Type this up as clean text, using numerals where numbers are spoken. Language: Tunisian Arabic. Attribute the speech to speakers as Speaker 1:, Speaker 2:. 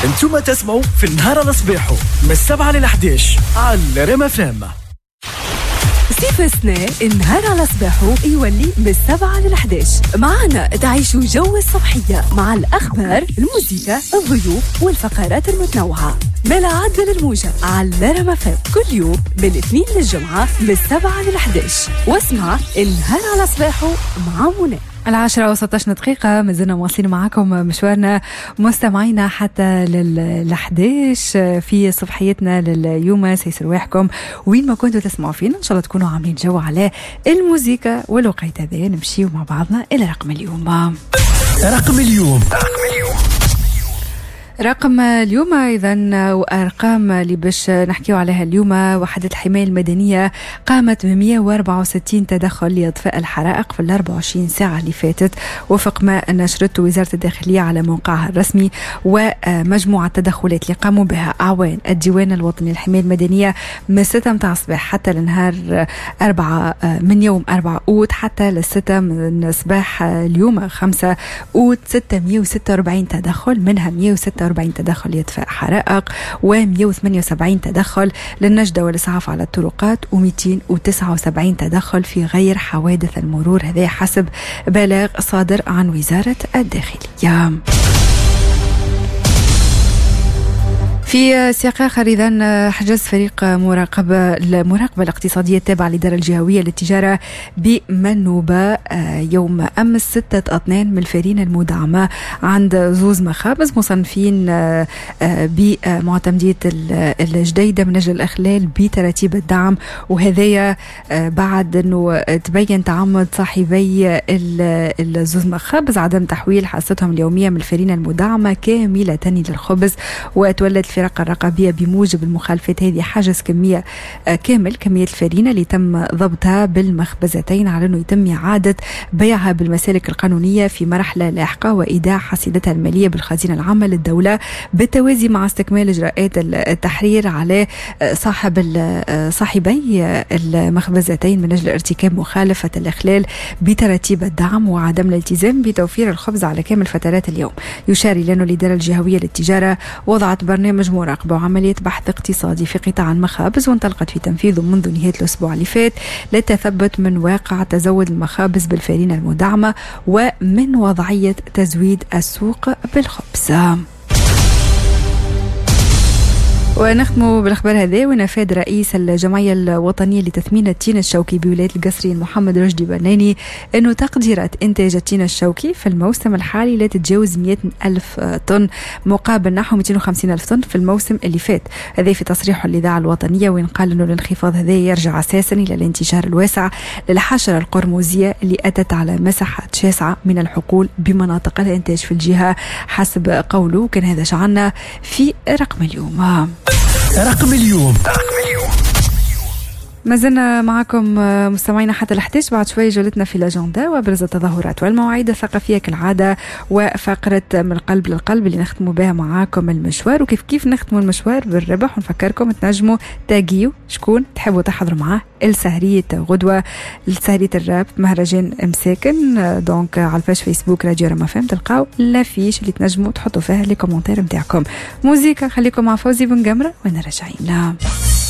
Speaker 1: انتم تسمعوا في النهار على صباحه من 7 لل 11 على رام FM.
Speaker 2: صيف السنة النهار على صباحه يولي من 7 لل 11، معنا تعيشوا جو الصبحية مع الأخبار، الموسيقى، الضيوف والفقرات المتنوعة. ملا عدل الموجة على رام FM كل يوم من الاثنين للجمعة من 7 لل 11، واسمع النهار على صباحه مع منى.
Speaker 3: 10:16، مازلنا مواصلين معاكم مشوارنا مستمعينا حتى لل11 في صبحيتنا لليوم. سيسر رواحكم وين ما كنتوا تسمعوا فينا، ان شاء الله تكونوا عاملين جو على الموزيكا والوقيت هذا. نمشيو مع بعضنا الى رقم اليوم.
Speaker 1: رقم اليوم،
Speaker 3: رقم اليوم إذا وأرقام اللي باش نحكيو عليها اليوم. وحدة الحماية المدنية قامت ب 164 تدخل لإطفاء الحرائق في ال 24 ساعة اللي فاتت، وفق ما نشرته وزارة الداخلية على موقعها الرسمي. ومجموعة التدخلات اللي قاموا بها أعوان الديوان الوطني للحماية المدنية من 6 متاع الصباح حتى لنهار 4 من يوم 4 أوت حتى للستة من صباح اليوم 5 أوت، 646 تدخل، منها 146 تدخل لإطفاء حرائق، و178 تدخل للنجدة والإسعاف على الطرقات، و279 تدخل في غير حوادث المرور، هذا حسب بلاغ صادر عن وزارة الداخلية. في سياق آخر إذن حجز فريق المراقبة الاقتصادية التابعة للإدارة الجهوية للتجارة بمنوبة يوم أمس 6 أطنان من الفارينة المدعمة عند زوز مخابز مصنفين بمعتمدية الجديدة من أجل الإخلال بتراتيب الدعم، وهذايا بعد أنه تبين تعمد صاحبي الزوز مخابز عدم تحويل حصتهم اليومية من الفارينة المدعمة كاملة للخبز. وتولت الفرق الرقابية بموجب المخالفات هذه حجز كمية كامل كمية الفارينة اللي تم ضبطها بالمخبزتين على أنه يتم إعادة بيعها بالمسالك القانونية في مرحلة لاحقة وإيداع حصيلتها المالية بالخزينة العامة للدولة، بالتوازي مع استكمال إجراءات التحرير على صاحبي المخبزتين من أجل ارتكاب مخالفة الإخلال بتراتيب الدعم وعدم الالتزام بتوفير الخبز على كامل فترات اليوم. يشار إلى أن الإدارة الجهوية للتجارة وضعت برنامج مراقبة وعملية بحث اقتصادي في قطاع المخابز، وانطلقت في تنفيذه منذ نهاية الأسبوع اللي فات للتثبت من واقع تزود المخابز بالفارينة المدعمة ومن وضعية تزويد السوق بالخبز. ونختم بالخبر هذا، ونفاد رئيس الجمعية الوطنية لتثمين التين الشوكي بولاية القصرين محمد رشدي بناني أنه تقديرات إنتاج التين الشوكي في الموسم الحالي لا تتجاوز 100,000 طن مقابل نحو 250,000 طن في الموسم اللي فات. هذا في تصريحه للإذاعة الوطنية، وين قال أنه الانخفاض هذا يرجع أساسا إلى الانتشار الواسع للحشرة القرمزية اللي أتت على مساحات شاسعة من الحقول بمناطق الإنتاج في الجهة حسب قوله. كان هذا شعنا في رقم اليوم.
Speaker 1: رقم اليوم.
Speaker 3: ما زلنا معكم مستمعينا حتى ال11. بعد شوي جولتنا في l'agenda وابرز التظاهرات والمواعيد الثقافية كالعادة، وفقره من القلب للقلب اللي نختموا بها معاكم المشوار، وكيف كيف نختموا المشوار بالربح. ونفكركم تنجموا تاجيو شكون تحبوا تحضروا معاه السهريه غدوه، السهريه الراب مهرجان مساكن. donc على ال page فيسبوك راديو رما فام تلقاو l'affiche اللي تنجموا تحطوا فيها les commentaires نتاعكم. موزيكا خليكم مع فوزي بن قمره وانا راجعين.